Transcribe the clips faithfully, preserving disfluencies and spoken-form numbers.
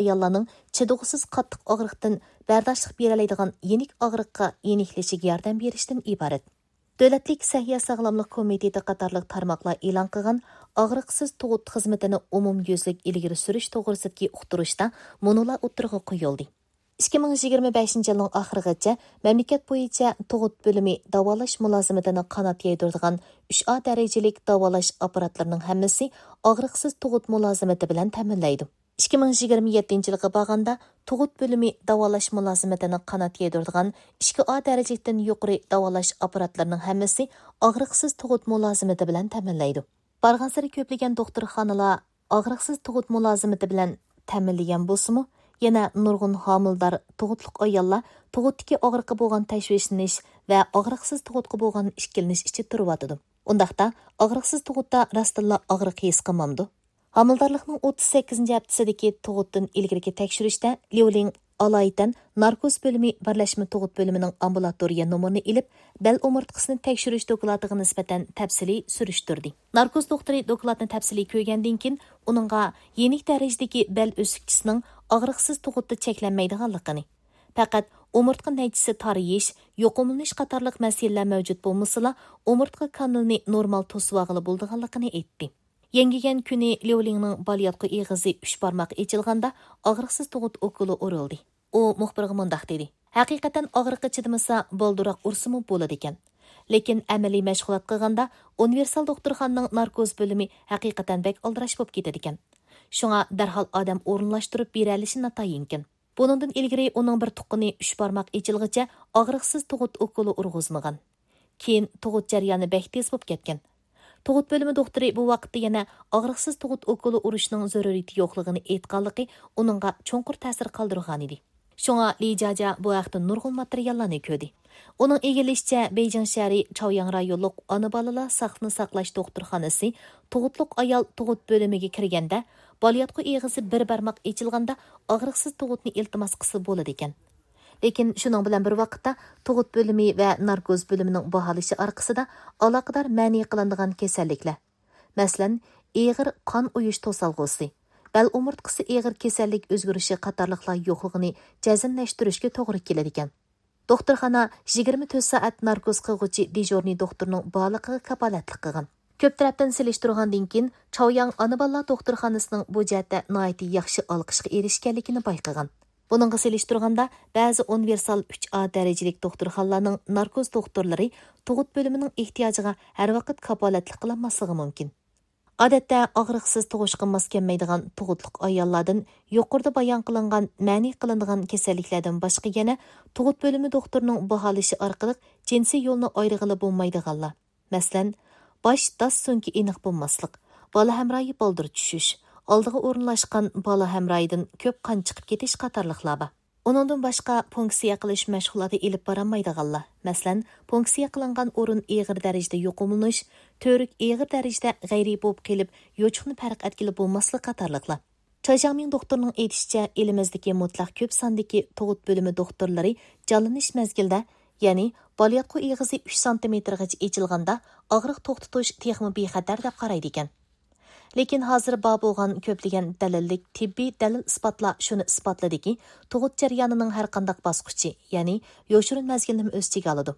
ئاياللارنىڭ چىدىغۇسىز قاتتىق ئاغرىقتىن بەرداشلىق بېرەلەيدىغان يېنىك ئاغرىققا يېنىكلىشىگە ياردەم بېرىشتىن ئىبارەت. دۆلەتلىك سەھىيە ساغلاملىق كومىتېتى قاتارلىق تارماقلار ئېلان قىلغان ئاغرىقسىز تۇغۇت خىزمىتىنى ئومۇميۈزلۈك ئىلگىرى سۈرۈش توغرىسىدىكى ئۇقتۇرۇشتا مۇنۇلار ئوتتۇرىغا قويۇلدى. ئىككى مىڭ يىگىرمە بەشىنچى يىلنىڭ ئاخىرىغىچە مەملىكەت بويىچە تۇغۇت بۆلۈمى داۋالاش مۇلازىمىتىنى قانات يايدۇرىدىغان ئۈچ ئا دەرىجىلىك داۋالاش ئاپپاراتلىرىنىڭ ھەممىسى ئاغرىقسىز تۇغۇت مۇلازىمىتى بىلەن تەمىنلەيدۇ. ئىككى مىڭ يىگىرمە يەتتىنچى يىلغا بارغاندا، تۇغۇت بۆلۈمى داۋالاش مۇلازىمىتىنى قانات يايدۇرىدىغان ئىككى ئا دەرىجىلىكتىن يۇقىرى داۋالاش ئاپپاراتلىرىنىڭ ھەممىسى ئاغرىقسىز تۇغۇت مۇلازىمىتى بىلەن تەمىنلەيدۇ. بارغانسېرى كۆپلىگەن دوختۇرخانىلار ئاغرىقسىز تۇغۇت مۇلازىمىتى بىلەن تەمىنلىگەن بولسىمۇ، يەنە نۇرغۇن ھامىلىدار تۇغۇتلۇق ئاياللار تۇغۇتتىكى ئاغرىققا بولغان تەشۋىشلىنىش ۋە ئاغرىقسىز تۇغۇتقا بولغان ئىككىلىنىش ئىچىدە تۇرۇۋاتىدۇ. ئۇنداقتا، ئاغرىقسىز تۇغۇتتا راستتىنلا ئاغرىق ھېس قىلمامدۇ؟ ھامىلىدارلىقنىڭ ئوتتۇز سەككىزىنچى ھەپتىسىدىكى تۇغۇتتىن ئىلگىرىكى تەكشۈرۈشتە ليۇلىڭ ئالايىتەن ناركوز بۆلۈمى بىرلەشمە تۇغۇت بۆلۈمىنىڭ ئامبۇلاتورىيە نومۇرىنى ئېلىپ، بەل ئومۇرتقىسىنى تەكشۈرۈش دوكلاتىغا نىسبەتەن تەپسىلىي سۈرۈشتۈردى. ناركوز دوختۇرى دوكلاتنى تەپسىلىي كۆرگەندىن كېيىن، ئۇنىڭغا يېنىك دەرىجىدىكى بەل ئۆسۈكچىسىنىڭ ئاغرىقسىز تۇغۇتتا چەكلەنمەيدىغانلىقىنى، پەقەت ئومۇرتقا نەيچىسى تارىيىش، يۇقۇملىنىش قاتارلىق مەسىلىلەر مەۋجۇت بولمىسىلا، ئومۇرتقا كانىلىنى نورمال توسۇۋالغىلى بولىدىغانلىقىنى ئېيتتى. يەڭگىگەن كۈنى ليۇلىڭنىڭ بالىياتقۇ ئېغىزى ئۈچ بارماق ئېچىلغاندا، ئاغرىقسىز تۇغۇت ئوكۇلى ئۇرۇلدى. ئۇ مۇخبىرغا مۇنداق دېدى: «ھەقىقەتەن ئاغرىققا چىدىمىسا، بالدۇرراق ئۇرسىمۇ بولىدىكەن. لېكىن ئەمەلىي مەشغۇلات قىلغاندا، ئۇنىۋېرسال دوختۇرخانىنىڭ ناركوز بۆلۈمى ھەقىقەتەن بەك ئالدىراش بولۇپ كېتىدىكەن. شۇڭا دەرھال ئادەم ئورۇنلاشتۇرۇپ بېرەلىشى ناتايىنكەن.» بۇنىڭدىن ئىلگىرى ئۇنىڭ بىر تۇغقىنى ئۈچ بارماق ئېچىلغىچە ئاغرىقسىز تۇغۇت ئوكۇلى ئۇرغۇزمىغان. كېيىن تۇغۇت جەريانى بەك تېز بولۇپ كەتكەن. تۇغۇت بۆلۈمى دوختۇرى بۇ ۋاقىتتا يەنە ئاغرىقسىز تۇغۇت ئوكۇلى ئۇرۇشنىڭ زۆرۈرىيىتى يوقلۇقىنى ئېيتقانلىقى ئۇنىڭغا چوڭقۇر تەسىر قالدۇرغانىدى. شۇڭا لى جاجا بۇ ھەقتە نۇرغۇن ماتېرىياللارنى كۆردى. ئۇنىڭ ئىگىلىشىچە، بېيجىڭ شەھىرى چاۋياڭ رايونلۇق ئانا بالىلار ساقچىسىنى ساقلاش دوختۇرخانىسى تۇغۇتلۇق ئايال تۇغۇت بۆلۈمىگە كىرگەندە، بالىياتقۇ ئېغىزى بىر بارماق ئېچىلغاندا ئاغرىقسىز تۇغۇتنى ئىلتىماس قىلسا بولىدىكەن. لېكىن شۇنىڭ بىلەن بىر ۋاقىتتا، تۇغۇت بۆلۈمى ۋە ناركوز بۆلۈمىنىڭ باھالىشى ئارقىسىدا ئالاقىدار مەنئى قىلىنىدىغان كېسەللىكلەر، مەسىلەن، ئېغىر قان ئۇيۇش توسالغۇسى، بەل ئومۇرتقىسى ئېغىر كېسەللىك ئۆزگىرىشى قاتارلىقلار يوقلۇقىنى جەزملەشتۈرۈشكە توغرا كېلىدىكەن. دوختۇرخانا يىگىرمە تۆت سائەت ناركوز قىلغۇچى دېژۇرنىي دوختۇرنىڭ بارلىقىغا كاپالەتلىك قىلغان. كۆپ تەرەپتىن سېلىشتۇرغاندىن كېيىن، چاۋياڭ ئانا بالىلار دوختۇرخانىسىنىڭ بۇ جەھەتتە ناھايىتى ياخشى ئالقىشقا ئېرىشكەنلىكىنى بايقىغان. بۇنىڭغا سېلىشتۇرغاندا، بەزى ئۇنىۋېرسال ئۈچ ئا دەرىجىلىك دوختۇرخانىلارنىڭ ناركوز دوختۇرلىرى تۇغۇت بۆلۈمىنىڭ ئېھتىياجىغا ھەر ۋاقىت كاپالەتلىك قىلالماسلىقى مۇمكىن. ئادەتتە ئاغرىقسىز تۇغۇشقا ماس كەلمەيدىغان تۇغۇتلۇق ئاياللاردىن يۇقىرىدا بايان قىلىنغان مەنئى قىلىنىدىغان كېسەللىكلەردىن باشقا يەنە تۇغۇت بۆلۈمى دوختۇرىنىڭ باھالىشى ئارقىلىق جىنسىي يولنى ئايرىغىلى بولمايدىغانلار، مەسىلەن، باش داس سۆڭىكى ئېنىق بولماسلىق، بالا ھەمراھى بالدۇر چۈشۈش، ئالدىغا ئورۇنلاشقان بالا ھەمراھىدىن كۆپ قان چىقىپ كېتىش قاتارلىقلار بار. ئۇنىڭدىن باشقا، پۇنكسىيە قىلىش مەشغۇلاتى ئېلىپ بارالمايدىغانلار، مەسىلەن، پۇنكسىيە قىلىنغان ئورۇن ئېغىر دەرىجىدە يۇقۇملىنىش، تۈۋرۈك ئېغىر دەرىجىدە غەيرىي بوپ قېلىپ، يوچۇقنى پەرق ئەتكىلى بولماسلىق قاتارلىقلار. چاي جياڭمىڭ دوختۇرنىڭ ئېيتىشىچە، ئېلىمىزدىكى مۇتلەق كۆپ ساندىكى تۇغۇت بۆلۈمى دوختۇرلىرى جانلىنىش مەزگىلىدە، يەنى بالىياتقۇ ئېغىزى ئۈچ سانتىمېتىرغىچە ئېچىلغاندا، ئاغرىق توختىتىش تېخىمۇ بىخەتەر دەپ قارايدىكەن. لېكىن ھازىر بار بولغان كۆپلىگەن دەلىللىك تېببىي دەلىل-ئىسپاتلار شۇنى ئىسپاتلىدىكى، تۇغۇت جەريانىنىڭ ھەر قانداق باسقۇچى، يەنى يوشۇرۇن مەزگىلنىمۇ ئۆز ئىچىگە ئالىدۇ.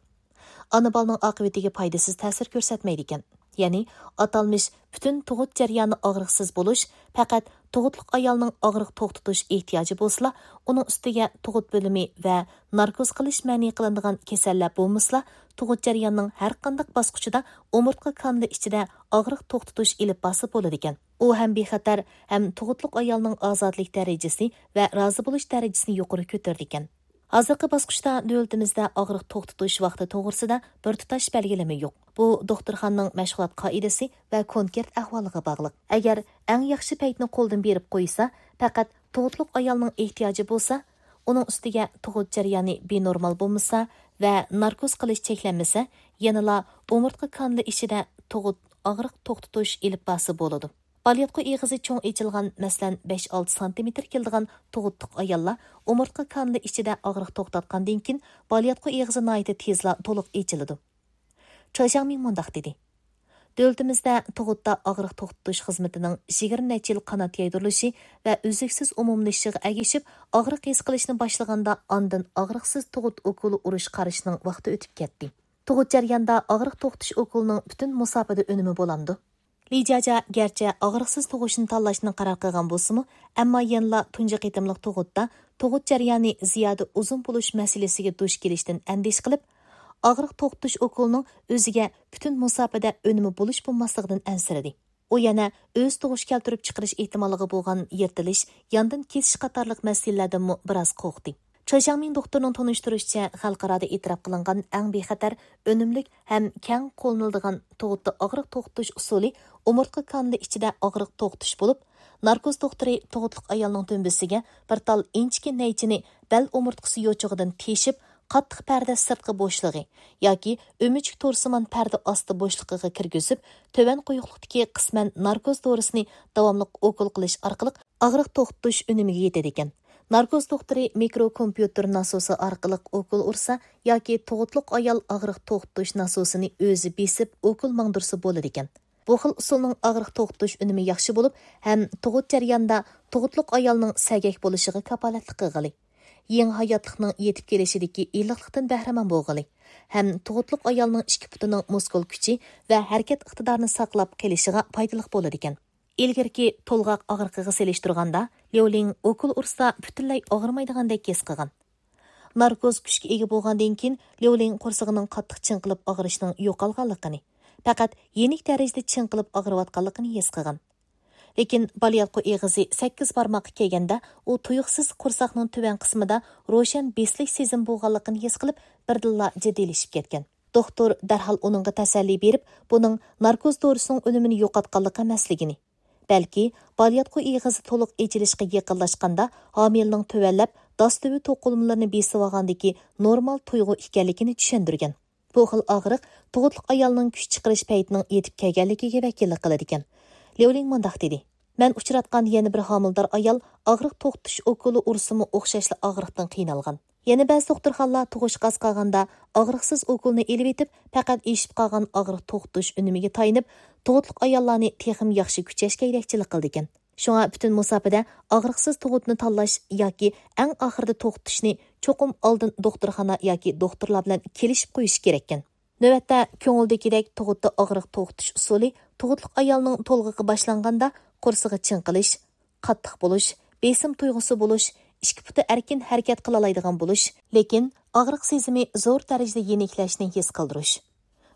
ئانا بالىنىڭ ئاقىۋىتىگە پايدىسىز تەسىر كۆرسەتمەيدىكەن. يەنى ئاتالمىش پۈتۈن تۇغۇت جەريانى ئاغرىقسىز بولۇش پەقەت تۇغۇتلۇق ئايالنىڭ ئاغرىق توختىتىش ئېھتىياجى بولسىلا، ئۇنىڭ ئۈستىگە تۇغۇت بۆلۈمى ۋە ناركوز قىلىش مەنئى قىلىنىدىغان كېسەللەر بولمىسىلا، تۇغۇت جەريانىنىڭ ھەر قانداق باسقۇچىدا ئومۇرتقا كانىلى ئىچىدە ئاغرىق توختىتىش ئېلىپ بارسا بولىدىكەن. ئۇ ھەم بىخەتەر، ھەم تۇغۇتلۇق ئايالنىڭ ئازادىلىك دەرىجىسى ۋە رازى بولۇش دەرىجىسىنى يۇقىرى كۆتۈرىدىكەن. ھازىرقى باسقۇچتا دۆلىتىمىزدە ئاغرىق توختىتىش ۋاقتى توغرىسىدا بىر تۇتاش بەلگىلىمە يوق. بۇ دوختۇرخانىنىڭ مەشغۇلات قائىدىسى ۋە كونكرېت ئەھۋالىغا باغلىق. ئەگەر ئەڭ ياخشى پەيتنى قولدىن بېرىپ قويسا، پەقەت تۇغۇتلۇق ئايالنىڭ ئېھتىياجى بولسا، ئۇنىڭ ئۈستىگە تۇغۇت جەريانى بىنورمال بولمىسا ۋە ناركوز قىلىش چەكلەنمىسە، يەنىلا ئومۇرتقا كانىلى ئىچىدە تۇغۇت ئاغرىق توختىتىش ئېلىپ بارسا بولىدۇ. بالىياتقۇ ئېغىزى چوڭ ئېچىلغان، مەسىلەن، بەش ئالتە سانتىمېتىر كېلىدىغان تۇغۇتلۇق ئاياللار ئومۇرتقا كانىلى ئىچىدە ئاغرىق توختاتقاندىن كېيىن، بالىياتقۇ ئېغىزى ناھايىتى تېزلا تولۇق ئېچىلىدۇ. چاي جياڭمىڭ مۇنداق دېدى: دۆلىتىمىزدە تۇغۇتتا ئاغرىق توختىتىش خىزمىتىنىڭ يىگىرمە نەچچە يىل قانات يايدۇرۇلۇشى ۋە ئۈزلۈكسىز ئومۇملىشىشىغا ئەگىشىپ، ئاغرىق ھېس قىلىشنى باشلىغاندا ئاندىن ئاغرىقسىز تۇغۇت ئوكۇلى ئۇرۇش قارىشىنىڭ ۋاقتى ئۆتۈپ كەتتى. تۇغۇت جەريانىدا ئاغرىق توختىتىش ئوكۇلىنىڭ پۈتۈن مۇساپىدە ئۈنۈمى بولامدۇ؟ لى جاجا گەرچە ئاغرىقسىز تۇغۇشنى تاللاشنى قارار قىلغان بولسىمۇ، ئەمما يەنىلا تۇنجى قېتىملىق تۇغۇتتا تۇغۇت جەريانى زىيادە ئۇزۇن بولۇش مەسىلىسىگە دۇچ كېلىشتىن ئەندىشە قىلىپ، ئاغرىق توختىتىش ئوكۇلىنىڭ ئۆزىگە پۈتۈن مۇساپىدە ئۈنۈمى بولۇش بولماسلىقىدىن ئەنسىرىدى. ئۇ يەنە ئۆز تۇغۇش كەلتۈرۈپ چىقىرىش ئېھتىماللىقى بولغان يىرتىلىش، ياندىن كېسىش قاتارلىق مەسىلىلەردىنمۇ بىراز قورقتى. چېي جياڭمىڭ دوختۇرنىڭ تونۇشتۇرۇشىچە، خەلقئارادا ئېتىراپ قىلىنغان ئەڭ بىخەتەر، ئۈنۈملۈك ھەم كەڭ قوللىنىلىدىغان تۇغۇتتا ئاغرىق توختىتىش ئۇسۇلى ئومۇرتقا كانىلى ئىچىدە ئاغرىق توختىتىش بولۇپ، ناركوز دوختۇرى تۇغۇتلۇق ئايالنىڭ دۈمبىسىگە بىر تال ئىنچىكە نەيچىنى بەل ئومۇرتقىسى يوچۇقىدىن تېشىپ، قاتتىق پەردە سىرتقى بوشلۇقى ياكى ئۆمۈچۈك تورسىمان پەردە ئاستى بوشلۇقىغا كىرگۈزۈپ، تۆۋەن قويۇقلۇقتىكى قىسمەن ناركوز دورىسىنى داۋاملىق ئوكۇل قىلىش ئارقىلىق ئاغرىق توختىتىش ئۈنۈمىگە يېتىدىكەن. ناركوز دوختۇرى مىكرو كومپيۇتېر ناسوسى ئارقىلىق ئوكۇل ئۇرسا ياكى تۇغۇتلۇق ئايال ئاغرىق توختىتىش ناسوسىنى ئۆزى بېسىپ ئوكۇل ماڭدۇرسا بولىدىكەن. بۇ خىل ئۇسۇلنىڭ ئاغرىق توختىتىش ئۈنۈمى ياخشى بولۇپ، ھەم تۇغۇت جەريانىدا تۇغۇتلۇق ئايالنىڭ سەگەك بولۇشىغا كاپالەتلىك قىلغىلى، يېڭى ھاياتلىقنىڭ يېتىپ كېلىشىدىكى ئىللىقلىقتىن بەھرىمەن بولغىلى ھەم تۇغۇتلۇق ئايالنىڭ ئىككى پۇتىنىڭ مۇسكۇل كۈچى ۋە ھەرىكەت ئىقتىدارىنى ساقلاپ قېلىشىغا پايدىلىق بولىدىكەن. ئىلگىرىكى تولغاق ئاغرىقىغا سېلىشتۇرغاندا، ليۇلىڭ ئوكۇل ئۇرسا پۈتۈنلەي ئاغرىمايدىغاندەك ھېس قىلغان. ناركوز كۈچكە ئىگە بولغاندىن كېيىن، ليۇلىڭ قورسىقىنىڭ قاتتىق چىڭقىلىپ ئاغرىشىنىڭ يوقالغانلىقىنى، پەقەت يېنىك دەرىجىدە چىڭقىلىپ ئاغرىۋاتقانلىقىنى ھېس قىلغان. لېكىن بالىياتقۇ ئېغىزى سەككىز بارماققا كەلگەندە، ئۇ تۇيۇقسىز قورساقنىڭ تۆۋەن قىسمىدا روشەن بېسىلىش سېزىمى بولغانلىقىنى ھېس قىلىپ، بىردىنلا جىددىيلىشىپ كەتكەن. دوختۇر دەرھال ئۇنىڭغا تەسەللى بېرىپ، بۇنىڭ ناركوز دورىسىنىڭ ئۈنۈمىنى يوقاتقانلىقى ئەمەسلىكىنى، بەلكى بالىياتقۇ ئېغىزى تولۇق ئېچىلىشقا يېقىنلاشقاندا، ھامىلىنىڭ تۆۋەنلەپ، داس تۈۋى توقۇلمىلىرىنى بېسىۋالغاندىكى نورمال تۇيغۇ ئىكەنلىكىنى چۈشەندۈرگەن. بۇ خىل ئاغرىق تۇغۇتلۇق ئايالنىڭ كۈچ چىقىرىش پەيتىنىڭ يېتىپ كەلگەنلىكىگە ۋەكىللىك قىلىدىكەن. ليۇلىڭ مۇنداق دېدى: مەن ئۇچراتقان يەنە بىر ھامىلىدار ئايال ئاغرىق توختىتىش ئوكۇلى ئۇرسىمۇ ئوخشاشلا ئاغرىقتىن قىينالغان. يەنە بەزى دوختۇرخانىلار تۇغۇشقا ئاز قالغاندا ئاغرىقسىز ئوكۇلنى ئېلىۋېتىپ، پەقەت ئېشىپ قالغان ئاغرىق توختىتىش ئۈنۈمىگە تايىنىپ، تۇغۇتلۇق ئاياللارنى تېخىمۇ ياخشى كۈچەشكە يېتەكچىلىك قىلىدىكەن. شۇڭا پۈتۈن مۇساپىدە ئاغرىقسىز تۇغۇتنى تاللاش ياكى ئەڭ ئاخىرىدا توختىتىشنى چوقۇم ئالدىن دوختۇرخانا ياكى دوختۇرلار بىلەن كېلىشىپ قويۇش كېرەككەن. نۆۋەتتە، كۆڭۈلدىكىدەك تۇغۇتتا ئاغرىق توختىتىش ئۇسۇلى تۇغۇتلۇق ئايالنىڭ تولغىقى باشلانغاندا قورسىقى چىڭقىلىش، قاتتىق بولۇش، بېسىم تۇيغۇسى بولۇش، ئىككى پۇتى ئەركىن ھەرىكەت قىلالايدىغان بولۇش، لېكىن ئاغرىق سېزىمى زور دەرىجىدە يېنىكلەشنى ھېس قىلدۇرۇش.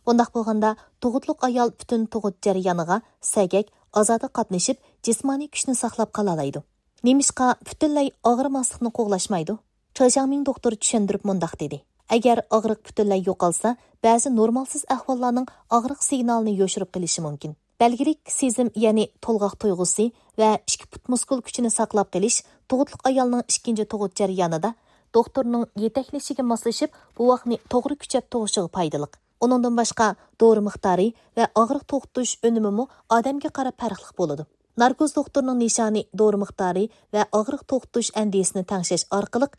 بۇنداق بولغاندا، تۇغۇتلۇق ئايال پۈتۈن تۇغۇت جەريانىغا سەگەك، ئازادە قاتنىشىپ، جىسمانىي كۈچنى ساقلاپ قالالايدۇ. نېمىشقا پۈتۈنلەي ئاغرىماسلىقنى قوغلاشمايدۇ؟ چېي جياڭمىڭ دوختۇر چۈشەندۈرۈپ مۇنداق دېدى: ئەگەر ئاغرىق پۈتۈنلەي يوقالسا، بەزى نورمالسىز ئەھۋاللارنىڭ ئاغرىق سىگنالىنى يوشۇرۇپ قېلىشى مۇمكىن. بەلگىلىك سېزىم، يەنى تولغاق تۇيغۇسى ۋە ئىككى پۇت مۇسكۇل كۈچىنى ساقلاپ قېلىش تۇغۇتلۇق ئايالنىڭ ئىككىنچى تۇغۇت جەريانىدا دوختۇرنىڭ يېتەكلىشىگە ماسلىشىپ، بوۋاقنى توغرا كۈچەپ تۇغۇشىغا پايدىلىق. ئۇنىڭدىن باشقا، دورا مىقدارى ۋە ئاغرىق توختىتىش ئۈنۈمىمۇ ئادەمگە قاراپ پەرقلىق بولىدۇ. ناركوز دوختۇرنىڭ نىشانى دورا مىقدارى ۋە ئاغرىق توختىتىش ئەندىزىسىنى تەڭشەش ئارقىلىق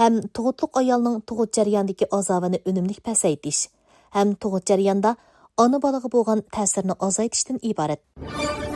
ھەم تۇغۇتلۇق ئايالنىڭ تۇغۇت جەريانىدىكى ئازابىنى ئۈنۈملۈك پەسەيتىش ھەم تۇغۇت جەريانىدا ئانا بالىغا بولغان تەسىرنى ئازايتىشتىن ئىبارەت.